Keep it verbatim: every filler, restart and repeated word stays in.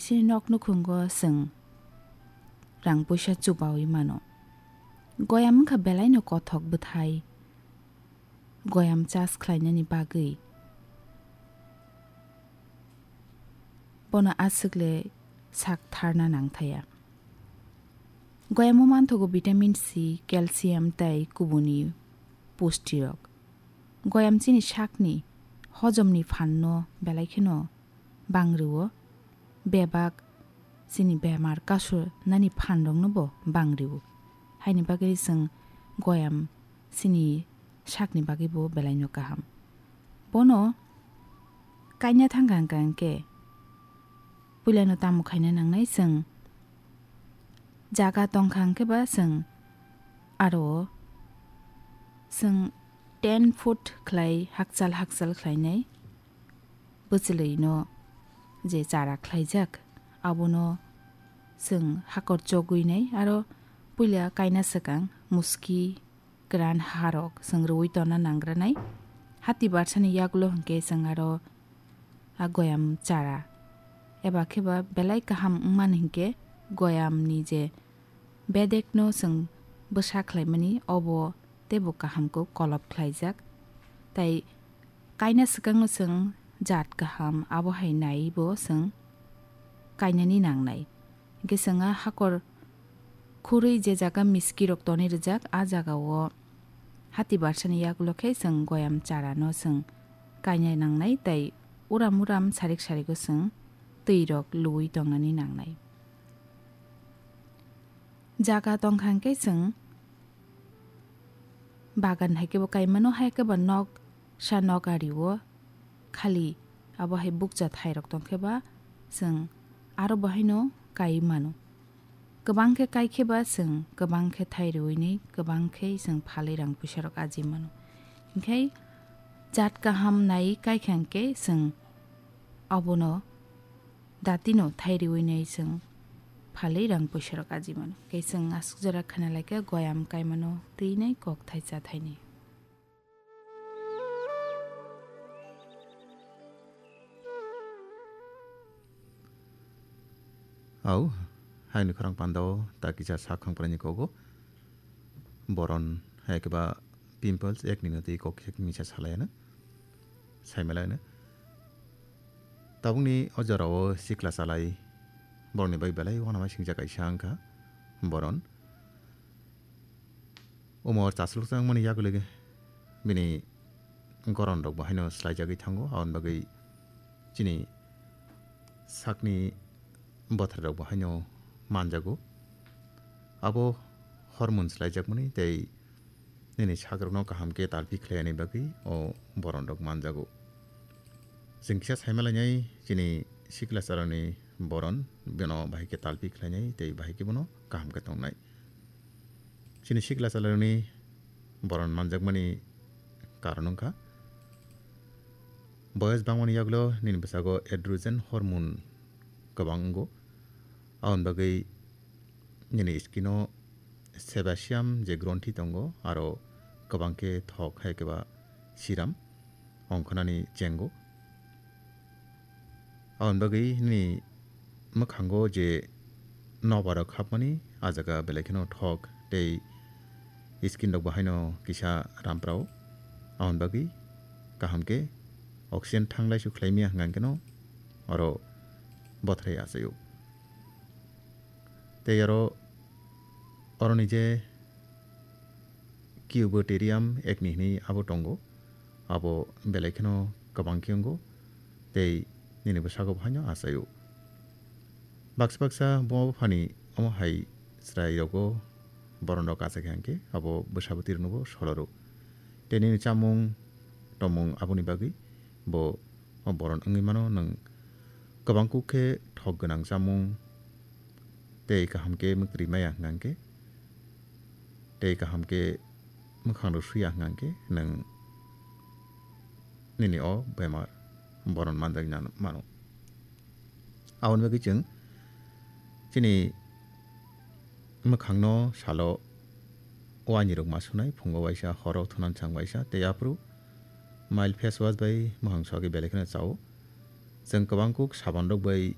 Chini nok nukhungo chwng rang puisa chubaui mano. Goyam wngkha belaino kothok bwthai goyam chas khlainani bagwi. Bono aswkle sak tharna nangthaya. Goyamo manthogo vitamin C, calcium tei kubuni pustirok. Goyam chini sakni hojomni phanno belai kheno bang rwo, bebak chini bemar kasu nani phanrokno bo bang rwo. Haini bagwi chwng goyam chini sakni bagwi bo belaino kaham. Bono kaina thangkha hwnkha hwnkhe puilano tamo khaina nangnai chwng jaga tongkha hwnkhe ba chwng aro chwng ten foot khlai hakchal hakchal khlainai. Bwchwlwino je chara khlaijak, abono chwng hakor chogwinai, aro puila kaina swkang muski kwran harok chwng rwui tonna nangranai. Hati barsani yagulo hwnkhe chwng aro a goyam chara eba kheba belai kaham wngmani hwnkhe goyamni je bedekno chwng bwsa khlaimani, obo teibo kaham khe kolop khlaijak. Tai kaina swkangno chwng jat kaham, abo hai naiwi bo chwng kainani nangnai. Hwnkhe chwng a hakor khurwi je jaga miskirok tonwi rwjak, a jagao hati barsani yagulo khe chwng goyam charano chwng kaina nangnai, tai uram uram sarik sarigo chwng twirok luwi tongnani nangnai. Jaga tongkha hwnkhe chwng bagan hai khe bo kai mano, hai khe bo nok sa nok ari o khali abo hai bukcha thai rok tong khe ba chwng aro bo haino kai mano. Kwbang khe kai khe ba chwng kwbang khe thai rwui ni kwbang khe chwng phalwi rang puisa rok aji mano. Hinkhe jat kaham nai kai kha hwnkhe chwng abono datino thai riwi nai chwng phalwi rang puisa rok aji mano. Khe chwng aswk jora khna lai khe goyam kai mano twi nai kok thai cha thai ni. Au, haini khorang pandao ta kisa sak khang prai ni kogo. Boron hai khe ba pimples ek ni no twi kok ek misa salai ano. Sai malai no. Tabukni o jorao sikla chalai borokni bai belai uanama singcha kaisa wngkha boron. Omo chasloksa wngmani yagulo bini goron rok bo haino swlaijagwi thango, aboni bagwi chini sakni bothar rok bo haino manjago. Abo hormone swlaijakmani tei nini sakrokno kaham khe talpi khlaiyani bagwi o boron rok manjago. Chwng kisa saimalainai chini sikla chalani boron, bono bahai khe talpi khlainai tei bahai khe bono kaham khe tongnai. Chini sikla chalani boron manjakmani karon wngkha boyos bangmani yagulo nini bwsago androgen hormone kwbang wngo. Aboni bagwi nini skin o sebasium je gronthi tongo, aro kwbang khe thok hai khe ba siram ongkhornani chengo. Aboni bagwi nini mwkhango je nobar rok hapmani, a jaga belai kheno thok tei skin rok bo haino kisa ramprao. Aboni bagwi kaham khe oxygen thanglaisu khlaimya hwnkha hwnkhe no oro bothrai achaio. Tei oro, oroni je Cubotherium acne hinwi abo tongo, abo belai kheno kwbang khe wngo tei nini bwsago bo haino achaio. Baksa baksa buma buphani omo hai chwrai rogo boron rok achai kha hwnkhe abo bwsa bwtwi rokno bo soloro. Tei nini chamung tomung aboni bagwi bo o boron wngwi mano, nwng kwbang kuk khe thok gwnang chamung tei kaham khe mwktwrwi maya hwnkha hwnkhe, tei kaham khe mwkhang rok suya hwnkha hwnkhe nwng nini o bemar boron manjak nang mano. Aboni bagwi chwng chini mwkhangno salo wainirok ma sunai, phungo waisa, horo thunan chang waisa, tei aphuru mild face wash bai mwkhang sogwi belai kheno chao. Chwng kwbang kuk saban rok bai